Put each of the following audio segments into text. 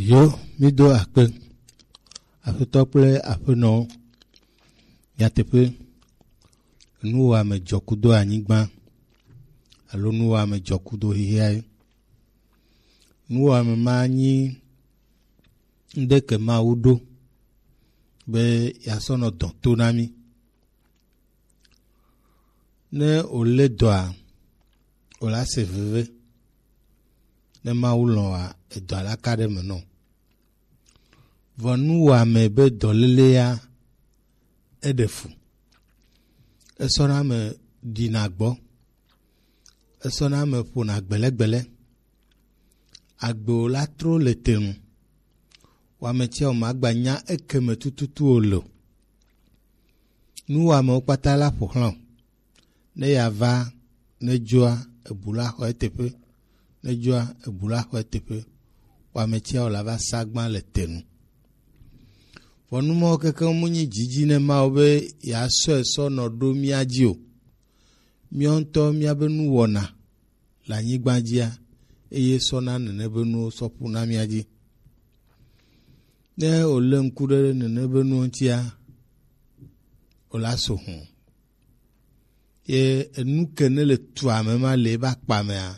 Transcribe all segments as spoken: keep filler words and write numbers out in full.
Yo, mi do akpe. Aƒetɔ kple aƒenɔwo, nyateƒe, nuwɔame dzɔ kudo anyigba alo nuwɔame dzɔ kudo xixiae. Nuwɔame ma nyi ŋɖe ke Mawu ɖo be yeasɔ nɔ dɔ to na mí. Ne wòlé dɔa, wòla se veve. Ne Mawu lɔ̃a, edɔa la ka ɖe eme nɔ. Vɔ nuwɔame be dɔlélea, eɖe fu. Esɔna ame ɖina gbɔ. Esɔna ame ƒona gbelegbele. Agbe wò la tro le te nu. Wò ame tsiawo magba nya ekeme tututu o lo. Nuwɔamewo kpata la ƒo xlã o. Ne ya va, ne dzoa, ebu la xɔ eteƒe. Ne dzoa, ebu la xɔ eteƒe. Wò ame tsiawo la va sa gbã le te nu. Vɔ nu mawo kekeŋ mu nyi dzidzi ne Mawu be yeasɔe sɔ nɔ ɖo mía dzi o. Míawo ŋutɔ míabe nuwɔna le anyigba dzia, eye sɔna nene be nuwo sɔ ƒuna mía dzi. Ne wòlé ŋku ɖe nene be nuwo ŋutia, wòla so hũ. Ye enu ke ne le tua me ma le ebe akpa mea,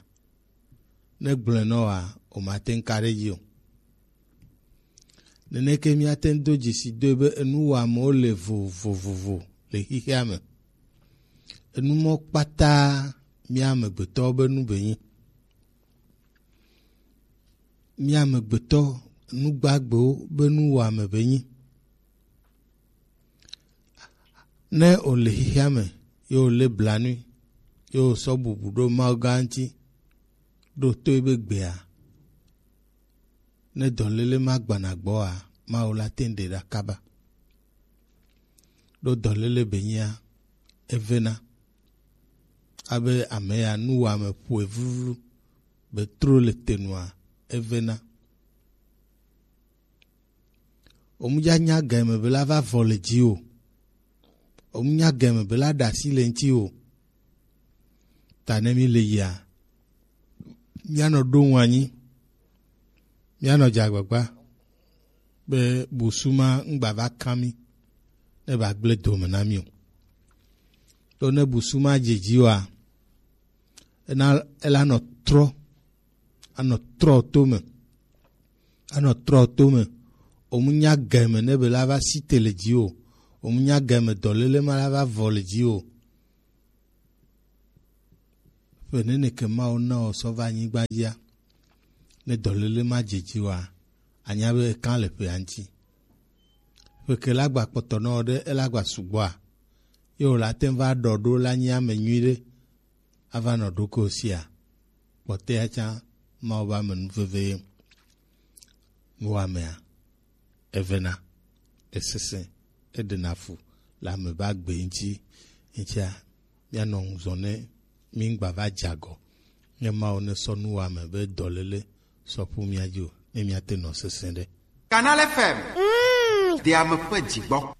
ne gblɔe nɔ wa, wòmate ŋu ka ɖe edzi o. Neneke míate ŋu do dzesi doe be enuwɔamewo le vovovovo le xexea me. Enu mɔ kpata mía amegbetɔwo be nu be nyi. Mía amegbetɔ nugbagbewo be nuwɔame be nyi. Ne wòle xexea me, ye wòlé blanui, ye wòsɔ bubu ɖo Mawu gã ŋuti, ɖo to ebe gbea, ne dɔléle ma gbana gbɔa, Mawu la te ŋu ɖe ɖa kaba. Ɖo dɔléle be nyia, evena. Abe ame ya nuwɔame ƒoe vluvlu be tro le te nua, evena. Omudza nya game be la va vɔ le dzi o. Omunya game be la ɖe asi le ŋuti o. Ta ne mi le yia, míanɔ ɖo ŋu anyi, míanɔ dze agbagba be busu ma ŋgba va kã mí ne ba gblẽ dome na mí o. Ɖo ne busu ma dze dzi oa, ena ela nɔ trɔ, anɔ trɔ to me, anɔ trɔ to me. Omunya game ne be la va si te le dzi o. Omunya game dɔléle ma la va vɔ le dzi o. Ƒe nene ke Mawu na wò sɔ va anyigba dzia, ne dɔléle ma dze dzi wòa, anya be ekã le ƒea ŋuti. Ƒe ke la gba kpɔtɔ nɔ ɖe ela gba sugbɔa, ye wòla te ŋu va ɖɔ ɖo la nyi ame nyui ɖe, ava nɔ ɖokuiwò sia, kpɔtɔea tsã Mawu be amenuveve ye. Nuwɔamea, evena, esesẽ, eɖena fu le ame be agbe ŋuti. Ŋutia, míanɔ ŋuzɔ ne míŋgba va dze agɔ. Ne Mawu ne sɔ nuwɔame be dɔléle sɔ ƒu mía dzi o, ne míate nɔ sesẽ ɖe. Canal F M. Mm. Ɖe ame ƒe dzi gbɔ.